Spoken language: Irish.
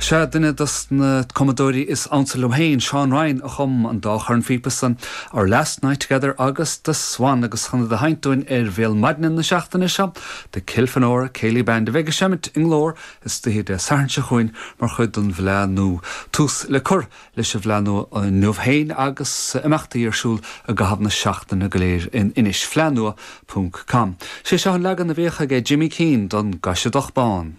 Sea, duine dos na cumadóirí is ansa liom féin, Seán Ryan, a chum an dá chornphíopa san, Our Last Night Together agus The Swan, agus chun iad a sheinnt dúinn ar Bhéal Maidine na seachtaine seo, The Kilfenora Céilí Band a bheidh ag seimint i nGlór istoíche Dé Sathairn seo chugainn mar chuid den bhFleadh Nua. Tús le cur leis an bhFleadh Nua inniu féin agus imeachtaí ar siúl i gcaitheamh na seachtaine go léir in Inis. Fleadhnua ponc com. Sé seo an leagan a bhíodh aige Jimmy Keane don gCaiseadach Bán.